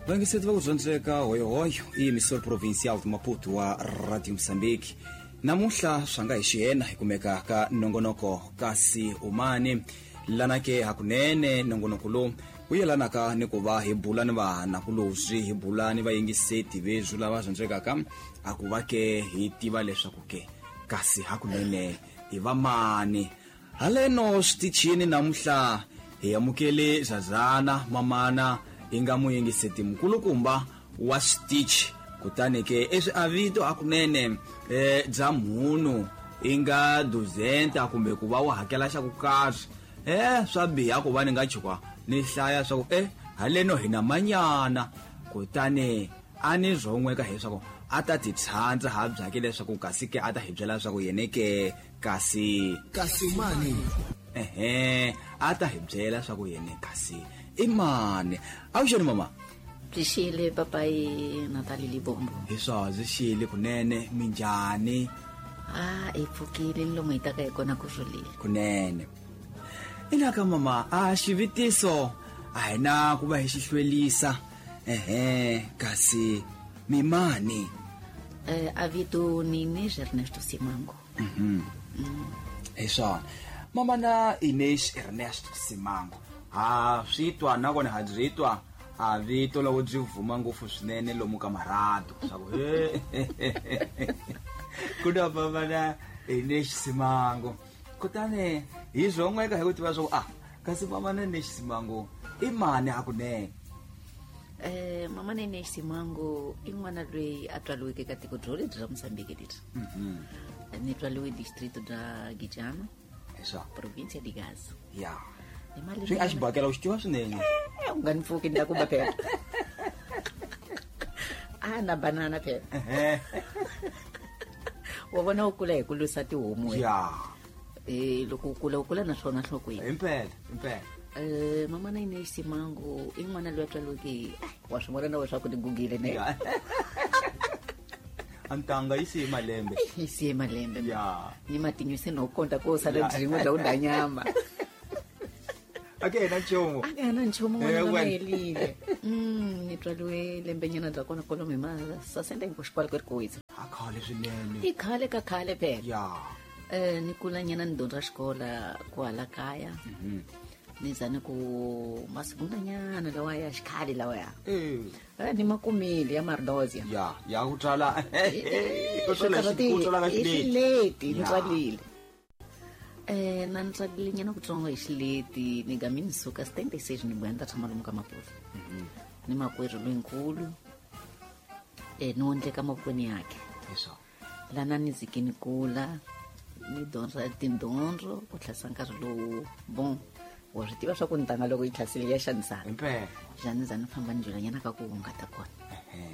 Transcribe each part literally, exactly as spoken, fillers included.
Vayingiseti va ku dyondzeka hoyohoyo i emissor provincial de Maputo wa Radio Mozambique. Namuntlha swa nga hi xiyena hi kumeka ka nongonoko kasi umani lana ke hakunene nongonoko lowu wu yelanaka ni ku va hi bula ni vanakulobye hi bula ni vayingiseti veswi lava dyondzekaka a ku va ke hi tiva leswaku ke kasi hakunene hi va mani. Haleno switichini namuntlha hi amukele Zazana mamana hi nga muyingiseti mukulukumba wa switichi, kutani ke eswi a vito hakunene eh bya munhu i nga duzenta kumbe ku va u hakela xa ku karhi eh swa biha ku va ni nga chuka ni hlaya swa ku eh haleno hi na manyana, kutani a ni rhon'weka hileswaku a ta ti tshandza ha byake leswaku kasi ke a ta hi byela leswaku yene ke kasi kasi mani ehe a ta hi byela leswaku yene kasi i mani. Avuxeni mama. Byi xile papai Natali Libombo. Hi swona byi xile kunene. Minjhani? A hi pfukile ni lomu hi taka hi kona ku rhulile kunene. Inaka mama, a xivitiso a hi na ku va hi xi hlwelisa. Ehe kasi mimani? Eh a vito ni Inês Ernesto Simango. Mhm. Hi swona mama na Inês Ernesto Simango. Ha swi twa nakona ha byi twa a vito loko byi vuma ngopfu swinene lomu ka marhatu swa ku he ku na mama na Inês Simango. Kutani hi swon'weka hi ku tiva swa ku ah kasi mama na Inês Simango i mani hakunene? Eh mama na Inês Simango i n'wana loyi a tswariweke ka tiko byo lebyi ra Mozambique leri. Mhm. Ni tswariwe distrito bya Gijana. Hi swona. Provincia de Gaza. Ya. Hi malembe Swi a xibakela u xi tiva swinene. Eh, u nga ni pfuki ni ta ku ba phela. A na banana phela. Ehe. Wa vona u kula hi ku lwisa tihomu wena. Ya. Eh loko u kula u kula na swona nhlokweni. Impela, impela. Eh mama na Inês Simango i n'wana loyi a tswariweke hi wa swi vona na wena swa ku ni gugile ne. Ya. Antanga yi siye malembe. Yi siye malembe. Ya. Ni matinyo se no konta ko sala Ya. byin'we bya ku dya nyama. Ake na nchumu. Ake na nchumu Eh, n'wana wena. helile. Mm ni tswariwe lembenyana bya kona kwalomu hi ma sasenta hi ku xikwala ku ri ku wisa. A khale swinene. I khale ka khale phela. Ya. Eh ni kula nyana ni dyondza xikola kwala kaya. Mhm. Ni za ni ku masigundanyana lawa ya xikhale lawa ya. Eh. Eh ni makumile ya Mardozia. Ya, ya ku tswala. Ku tswala Swi ku tswala ka i xileti. xileti, ni Ya. tswalile. Eh na ni tswalile nyana kutsongo hi xileti ni gami ni suka setenta e seis ni vuya ni ta tshama lomu ka Maputo. Ni makwerhu loyinkulu. Eh ni wondleka mavokweni yakhe. Hi swona. Lana ni zike ni kula ni dyondza tidyondzo ku tlhasa nkarhi lowu bon wa swi tiva swa ku ntanga loko yi tlhasile ya xanisana. Impela. Njhani za ni famba ni dyelanyana ka ku hungata kona. Ehe.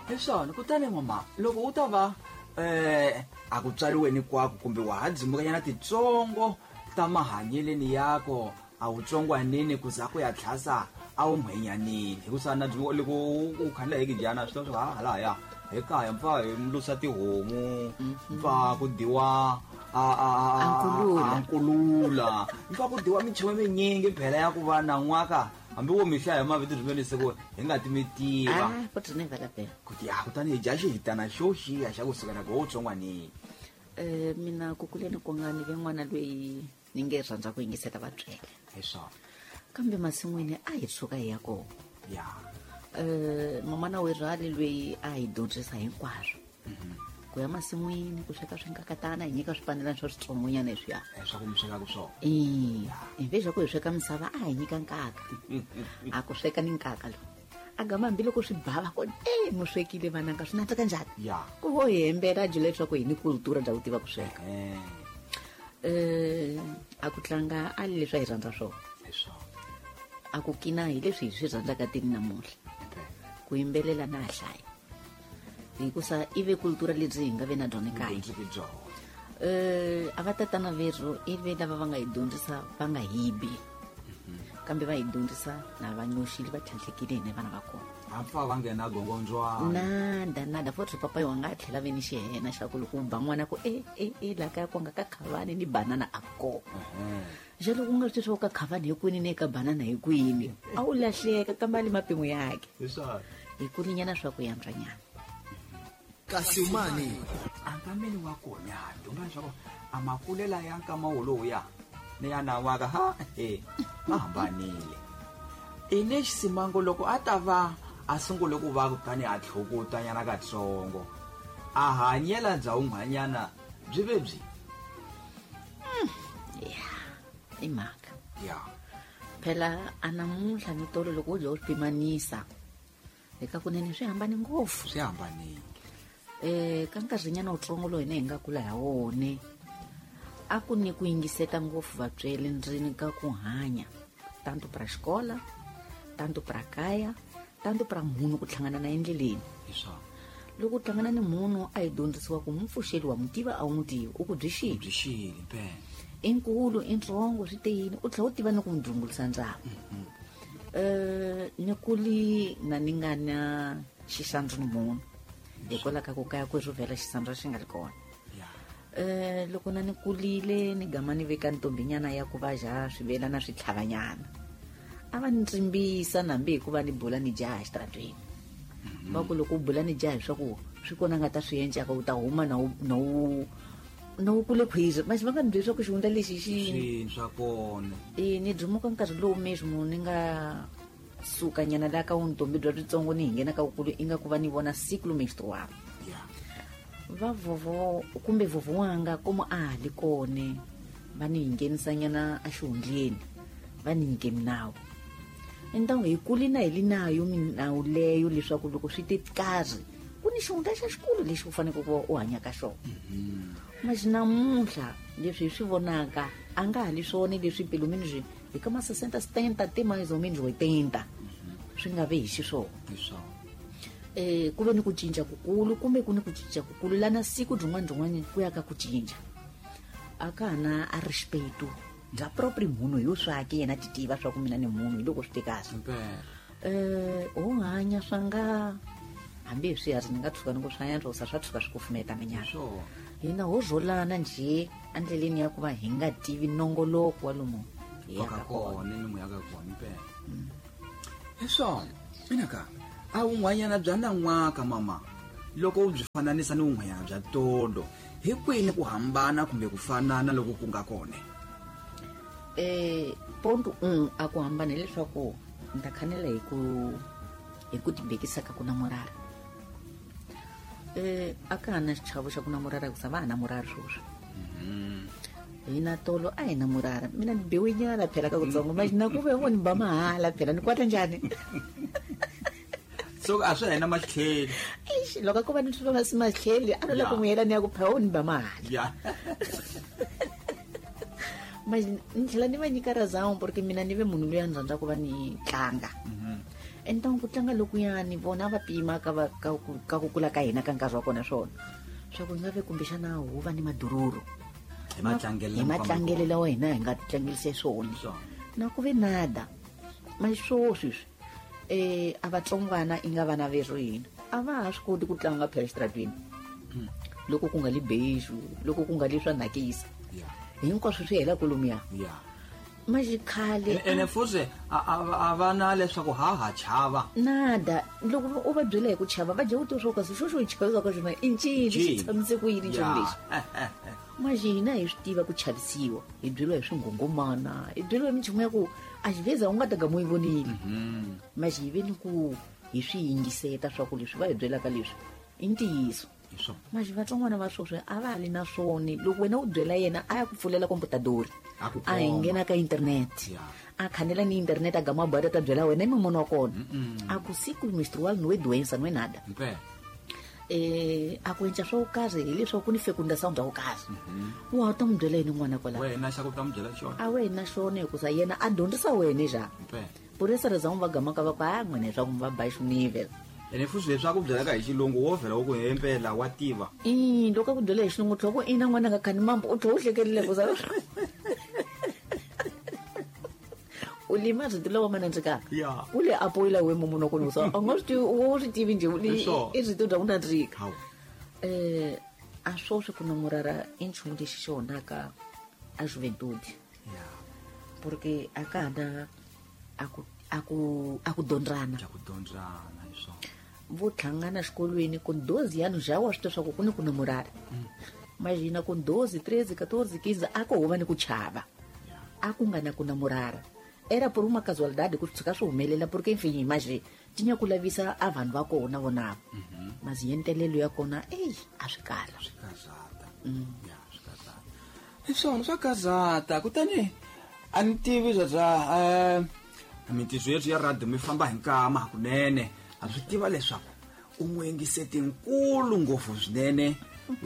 Hi swona kutani mama loko u ta va eh a ku tswariweni kwako kumbe wa ha dzimukanyana titsongo ta mahanyeleni yako a wu tsongwanini ku za ku ya tlhasa a wu mhwenyanini hikusa na dzimo loko u khandla hi kijana swi tiva swa ha halaya hi kaya mpfa hi lusa tihomu mpfa ku dyiwa a a a A nkulula. a nkulula mpfa ku dyiwa minchumu minyingi phela ya ku va na n'waka hambi wo mi hlaya hi mavito rimene se ku hi nga ti mi tiva. Ah, futhi ni vhela phela. Kuti ya kutani hi dya xihitana xo xiya xa kusuka na ku wo tsongwanini. Eh mina ku kuleni ku nga ni ve n'wana loyi ni nge rhandza ku yingisela vatswele. Hi swona. Kambe masin'wini a hi tshuka hi ya kona. Ya. Eh mamana we rhali loyi a hi dyondzisa hinkwaswo. Ku ya masin'wini ku sweka swinkakatana hi nyika swipanelana swa switsongonyana leswiya. Eh swa ku mi swekaka swona. Eh, hi ve swa ku hi sweka misava a hi nyika nkaka. A ku sweka ni nkaka lowu. A gama hambiloko swi bava ku eh mu swekile vananga swi nandzika njhani? Ya. Ku vo hi hembela byi leswaku hi ni kultura bya ku tiva ku sweka. Eh. Eh a ku tlanga a leswi a hi rhandza swona. Hi swona. A ku kina hi leswi hi swi rhandzaka tini namuntlha. Ku yimbelela na hlaya. Hikusa i ve kultura lebyi hi nga ve na byona kaya. Dyondziki byona. Eh a va tatana verhu i ve lava va nga hi dyondzisa va nga hibi. Kambe va hi dyondzisa na va nyoxile va tlhantlhekile hina vana va kona. A pfa va nghena gongondzwana. Nada, nada. Futhi papa wa nga tlhela ve ni xihena xa ku loko u ba n'wana ku e, e, e, la kaya ku nga ka khavani ni banana a kona. Ehe. Jalo ku nga swi swa ka khavani hi kwini ne ka banana hi kwini a wu lahleka ka mali mapimo yake hi kulinyana swa ku yantswanyana kasi umani ankameni wa kona dyondza leswaku a makulela ya nkama wolowo ya ni ya nawaka ha e ma hambanile i lexi simango loko a ta va a sungule ku va kutani a tlhokutanyana katsongo a hanyela bya un'wanyana byi ve byi ya i mhaka ya phela a namuntlha ni tolo loko u dya u swi pimanisa eka kunene swi hambane ngopfu swi hambanile eh ka nkarhinyana wutsongo lowu hina hi nga kula ha wone a ku ni ku yingiseta ngopfu vatswele ndzeni ka ku hanya tanto pra xikola tanto pra kaya tanto pra munhu ku hlangana na endleleni hi swona loko u hlangana ni munhu a hi dyondzisiwa ku mupfuxeli wa mutiva a wu n'wi tivi u ku byi xile byi xile impela i nkulu i ntsongo swi te yini u tlhela u tiva ni ku n'wi dzungulisa ndzhaku um ni kuli na ni nga na xisandzu ni munhu hikwalaho ka ku kaya ku rhuvela xisandzu xi nga ri kona um loko na ni kulile ni gama ni veka ntombinyana ya ku va ja swivelana swi tlhavanyana a va ni tsimbisa nambi hikuva ni bula ni jaha exitaratweni va ku loko u bula ni jaha leswaku swi kona nga ta swi encaka u ta huma na wu na wu na wu kule khwizi manje va nga ni byeli swa ku xihundla lexi xi swini swa kona e ni dumuka nkarhi lowu mesmo ni nga sukanyana laha ka vuntombi bya byitsongo ni hi nghena ka vukulu i nga ku va ni vona ciclo menstrual ya va vovo kumbe vovo wanga komo a ha li kone va ni hi nghenisanyana exihundleni va ni nyike minawu entangu hi kuli na hi li nayo minawu leyo leswaku loko swi te karhi ku ni xihundla xa xikulu lexi u faneleke ku va u hanya ka xona mas namuntlha leswi hi swi vonaka a nga ha li swona leswi pelo menos hi ka ma sessenta setenta te mais ou menos oitenta swi nga ve hi xiswona hi swona eh ku ve ni ku cinca kukulu kumbe ku ni ku cinca kukulu lana siku byin'wana byin'wana ku ya ka ku cinca a ka ha na a respeito bya proprio munhu hi yo swake yena ti tiva swa ku mina ni munhu hi loko swi te kahle impela eh ho hanya swa nga hambi hi swiharhi ni nga tshuka ni ku swa endla sa swa tshuka swi kufumeta minyana swona hina ho rholana njhe endleleni ya ku va hi nga tivi nongoloko wa lomu hi ka yaka kona kona ni mu yaka kona impela hi swona mina ka a wun'wanyana bya nan'waka mama loko u byi fananisa ni wun'wanyana bya tolo hi kwini ku hambana kumbe ku fanana loko ku nga kona eh ponto um a ku hambana hileswaku ni ta khanela hi ku hi ku tibekisa ka ku namorara eh a ka ha na xichavo xa ku namorara hikusa va ha namorara sweswi hina tolo a hi namorara mina ni biwe nyana phela ka kutsongo manje na ku ve ngo ni ba mahala phela ni kwata njhani so a swi hina matlheli Eish, loko a ko va ni swi va masi matlheli a no la ku Ya. n'wi yela ni ya ku phela wo ni ba mahala ya manje ni tlhela ni va nyika razão porque mina ni ve munhu loyi a ni rhandza ku va ni tlanga entangu ku tlanga lokuyani vona va pima ka va ka ku ka ku kula ka hina ka nkarhi wa kona swona swa ku hi nga ve kumbexana hu va ni madururu hi matlangelo hi matlangelo lawa hina hi nga tlangelise swona Swona. na ku ve nada ma swo sweswi eh a vatsongwana i nga vana verhu hina a va ha swi koti ku tlanga phela exitaratweni loko ku nga li beijo loko ku nga li swa nakisa ya hinkwaswo swi hela kolomuya ya manje khale ene futhi a a- a va na leswaku ha ha chava nada loko u va byela hi ku chava va dya u tiva swo kasi xo xo hi chavisaka xona i ncini xi Ncini. tshamise ku yini nchumu Ya. lexi manje hina hi swi tiva ku chavisiwa hi byeriwa hi swinghongomana hi byeriwa hi minchumu ya ku a xiveza u nga ta gama u yi vonile manje hi ve ni ku hi swi yingiseta swa ku leswi va hi byelaka leswi i ntiyiso hi swona manje vatsongwana va sweswi a va ha li na swona loko wena u byela yena a ya ku pfulela komputadori A ku a hi komba. nghena ka internet Ya. a khanela ni internet a gama a ta byela wena i mumunu wa kona a ku siku menstrual no é doença não é nada impela eh a ku endla swo karhi hileswaku ku ni fecundação bya ku karhi wa u ta n'wi byela yini n'wana kwalaho wena xa ku ta n'wi byela xona a wena xona hikusa yena a dyondzisa wena xa impela por essa razão va gamaka va ku a n'wina leswaku mi va baixo nível ene futhi leswi a ku byelaka hi xilungu wo vhela wu ku hempela wa tiva i loko a ku byela hi xilungu tlhoko ina n'wana nga khani mambo u tlhe u hlekelele kusa u lima rito lawa ma nandzikaka Ya. u le apoyila we mumunhu wa kona kusa a nga swi tivi u swi tivi njhe Hi swona. i rito bya ku nandzika hawu eh a swoswi ku namorara i nchumu lexi xi onhaka a juventude ya Porque a ka na a ku a ku a ku dondrana. A ku dondrana hi swona. Vo hlangana xikolweni ku doze anos já wa swi tiva swa ku ku ni ku namorara. Imagina com doze, treze, catorze, quinze, a ku huva ni ku chava. A ku nga na ku namorara. Era por uma casualidade ku tshuka swi humelela porque enfim, imagine, tinha ku lavisa a vanhu va kona vonavo. Mas yentelelo ya kona, ei, a swi kala. Swi kazata. Ya, swi kazata. Hi swona swa kazata. Kutani a ni tivi bya bya eh mintirho yethu ya radio mi famba hi nkama hakunene. A swi tiva leswaku u n'wingiseti nkulu ngopfu swinene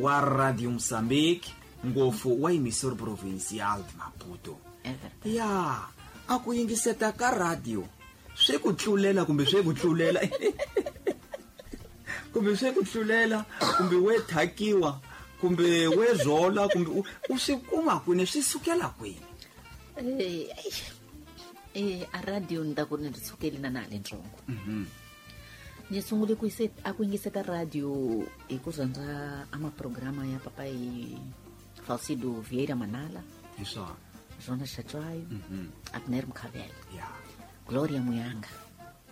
wa Radio Mozambique, ngopfu wa Emissora Provincial de Maputo. Ya, a ku yingiseta ka radio swi ku tlulela kumbe swi ku tlulela kumbe swi ku tlulela kumbe we thakiwa kumbe we zola kumbe u swi kuma kwini, swi sukela kwini? Eh, eh, a radio ni ta ku ni ri sukeli na na le ntsongo. Ni sungule ku yise a ku yingiseta radio hi ku rhandza a maprograma ya papai Falcido Vieira Manala. Hi swona. Jonas Chatswayo, Abner Mkhabela, Ya. Gloria Muyanga.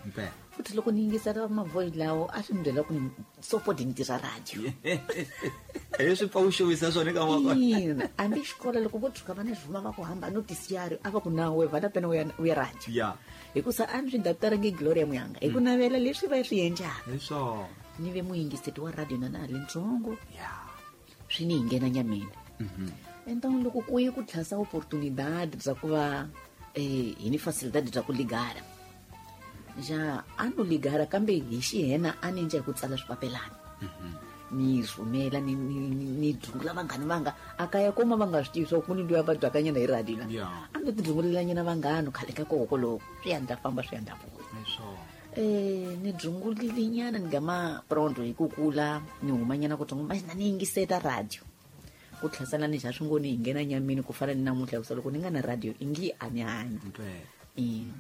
Mpela. Futhi loko ni yingisela mavoice lawo a swi ni byela ku ni sopoti ni tirha radio. Hi swi pfa u xavisa swona eka wa kona. Ina, hambi xikolo loko vo tshuka va ni rhuma va ku hamba notisiari a va ku na we vana pena u ya u ya radio. Ya. Hikusa a ni swi daptarangi Gloria Muyanga hi ku navela leswi va swi endlaka. Hi swona. Ni ve muyingiseti wa radio na na ha le ntsongo. Ya. Swi ni hi nghena nyameni. Então loko ku ye ku tlhasa oportunidade bya ku va eh hi ni facilidade bya ku ligara. Ja a no ligara kambe hi xihena a ni endla hi ku tsala swipapelana. Ni rhumela ni ni ni dzungula vanghani vanga a kaya koma va nga swi tivi swa ku ni luya va byakanyana hi radio la. Ya. A ni ti dzungulelanyana vanghana khale ka koko loko swi ya ndla famba swi ya ndla vuya. Hi swona. Eh ni dzungulile nyana ni gama pronto hi ku kula ni humanyana ku tsongo mas na ni yingiseta radio. Ku tlhasana ni xa swi ngo ni hi nghena nyameni ku fana ni namuntlha hikusa loko ni nga na radio i ngi a ni hanyi. Mpela. Ina.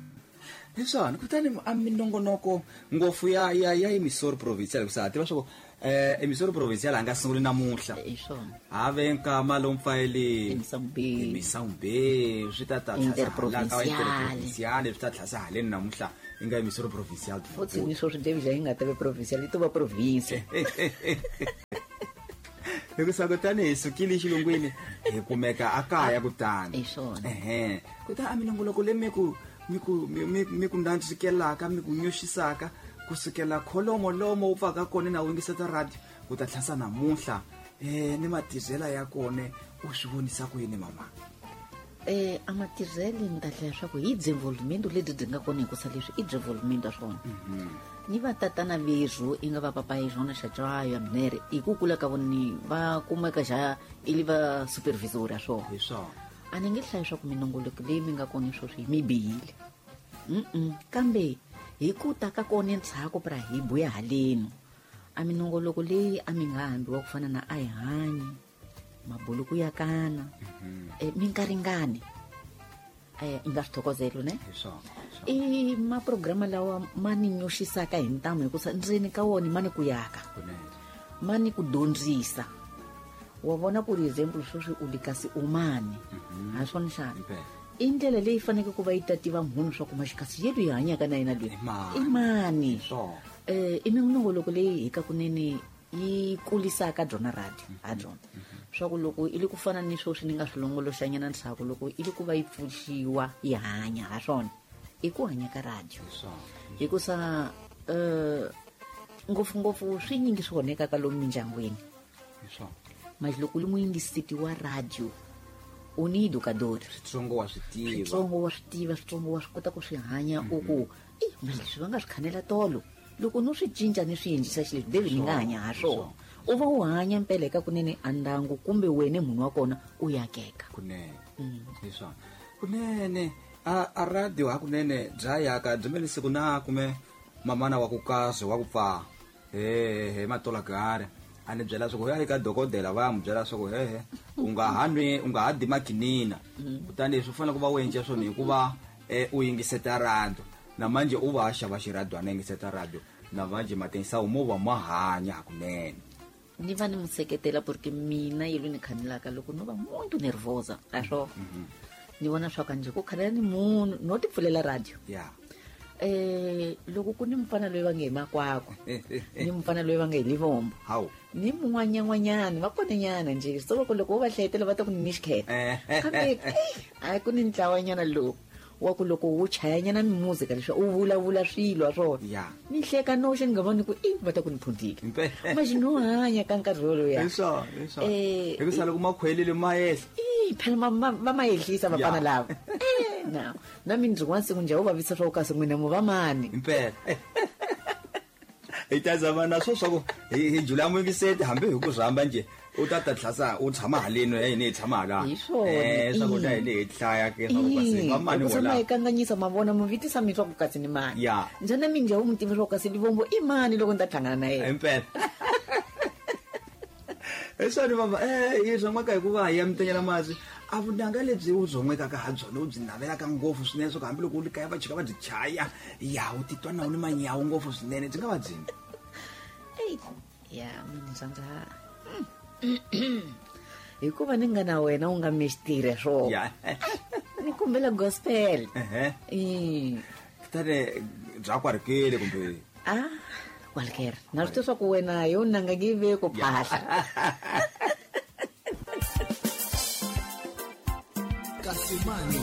Hi swona. Kutani a minongonoko ngopfu ya ya ya Emissora Provincial hikusa ha tiva swa ku eh Emissora Provincial a nga sunguli namuntlha. Hi swona. Ha ve nkama lowu mpfayeli Emisambeni. Emisambeni swi ta ta tlhasa Interprovincial. Interprovincial swi ta tlhasa haleni namuntlha i nga Emissora Provincial. Futhi ni swo swi devi yi nga ta ve provincial yi to va province. Hikusa kutani hi sukile xilungwini hi kumeka a kaya kutani. Hi swona. Ehe. Kutani a minongoloko leyi mi ku mi ku mi mi mi ku ndandzikelaka mi ku nyoxisaka kusukela kholomo lomo u pfaka kona na u yingiseta radio ku ta tlhasa namuntlha eh ni matirhela ya kona u swi vonisa ku yini mama? Eh a matirhele ni ta hlaya swa ku hi desenvolvimento lebyi byi nga kona hikusa leswi i desenvolvimento ya swona. Ni va tatana vezwo i nga va papai Jonas Chatswayo Abner hi ku kula ka vona ni va kumeka xa i li va supervisor ya swona. Hi swona. A ni nge hlayi swa ku minongoloko leyi mi nga kona sweswi mi bihile. Mm-mm. Kambe hi ku ta ka kona ndzhaku pra hi buya haleni. A minongoloko leyi a mi nga hambiwa ku fana na a hi hanyi, mabuluku ya kana, eh, mi nga ringani. Eh, i nga swi thokozelo ne? Hi swona. I maprograma lawa ma ni nyoxisaka hi ntamu hikusa ndzeni ka wona ma ni ku yaka. Kunene. Ma ni ku dyondzisa. Wa vona por example sweswi u li kasi u mani. Ha swona xana? Impela. I ndlela leyi faneleke ku va yi tativa munhu swa ku maxikasi ye loyi hanyaka na yena loyi. I mani? I mani? Hi swona. Eh, i minongoloko leyi hi ka kunene yi kulisaka byona radio ha byona. Swa ku loko i le ku fana ni sweswi ni nga swi longoloxanyana ndzhaku loko i le ku va yi pfuxiwa yi hanya ha swona. I ku hanya ka radio. Hi swona. Hikusa eh ngopfungopfu swi nyingi swi onhekaka lomu mindyangwini. Hi swona. Mas loko u li muyingiseti wa radio u ni educador. Switsongo wa swi tiva. Switsongo wa swi tiva, switsongo wa swi kota ku swi hanya u ku, i mas leswi va nga swi khanela tolo. Loko no swi cinca ni swi endlisa xileswi, David ni nga hanya ha swona. U va u hanya mpela eka kunene a ndyangu kumbe wena munhu wa kona u yakeka. Kunene. Hi swona. Kunene a a radio hakunene bya yaka byi mele siku na kume mamana wa ku kazi wa ku pfa. He he matola gare. A ni byela swa ku ya eka dokodela va ya n'wi byela swa ku he he u nga ha nwi u nga ha di makinina. Kutani leswi u fanele ku va u endla swona hikuva eh, u yingiseta radio. Na manje u va a xava xiradio a yingiseta radio. Na manje matengisa mo va ma hanya hakunene. Ni va ni n'wi seketela porque mina yi lo ni khanelaka loko no va muito nervosa a swo. Ni vona swa ka njhe ku khalela ni munhu no ti pfulela radio. Ya. Eh loko ku ni mfana loyi va nge hi Makwakwa ni mfana loyi va nge hi Livombo hawu ni mun'wanyan'wanyana va konanyana njhe so loko loko wo va hlayetela va ta ku ni xikheta kambe a ku ni ntlawanyana lowu wa ku loko wu chayanyana mimuzika leswi u vulavula swilo wa swona Ya. ni hleka noxe ni nga voni ku i va ta ku ni phundile Impela. manje no hanya ka nkarhi woloya hi swona hi swona Eh, hikusa loko makhwelile ma yehla i phela ma- ma- va ma yehlisa vafana Ya. lava Eh, na na mina rin'wana siku njhe wu vavisa swa ku kasi n'wina mu va mani impela hi ta zama na swo swa ku hi hi jula muyingiseti hambi hi ku rhamba njhe u ta ta tlhasa u tshama haleni ya hina hi tshama hala Hi swona, eh swa ku ta i. hi le hi hlaya ke swa ku kasi va mani Loko se vola ma hi kanganyisa ma vona mu vitisa mi swa ku kasi ni mani Ya. njhani na minjhe wu mu tiva swa ku kasi Livombo i mani loko ni ta hlangana na yena impela hi swona mama eh hi byon'weka hikuva hi ya mitenyela masi a vunanga lebyi u byon'wekaka ha byona u byi navelaka ngopfu swinene swa ku hambiloko u ri kaya va chika va byi chaya ya u titwa na u ni manyawu ngopfu swinene byi nga va byini Eyi, ya mina rhandza hikuva ni nga na wena u nga mixitire swona ya ni kombela gospel ehe Mm. kutani bya kwarikile kumbe ah walker na swi tiva swa ku wena yo nanga nge ve ku phahla Kasimani.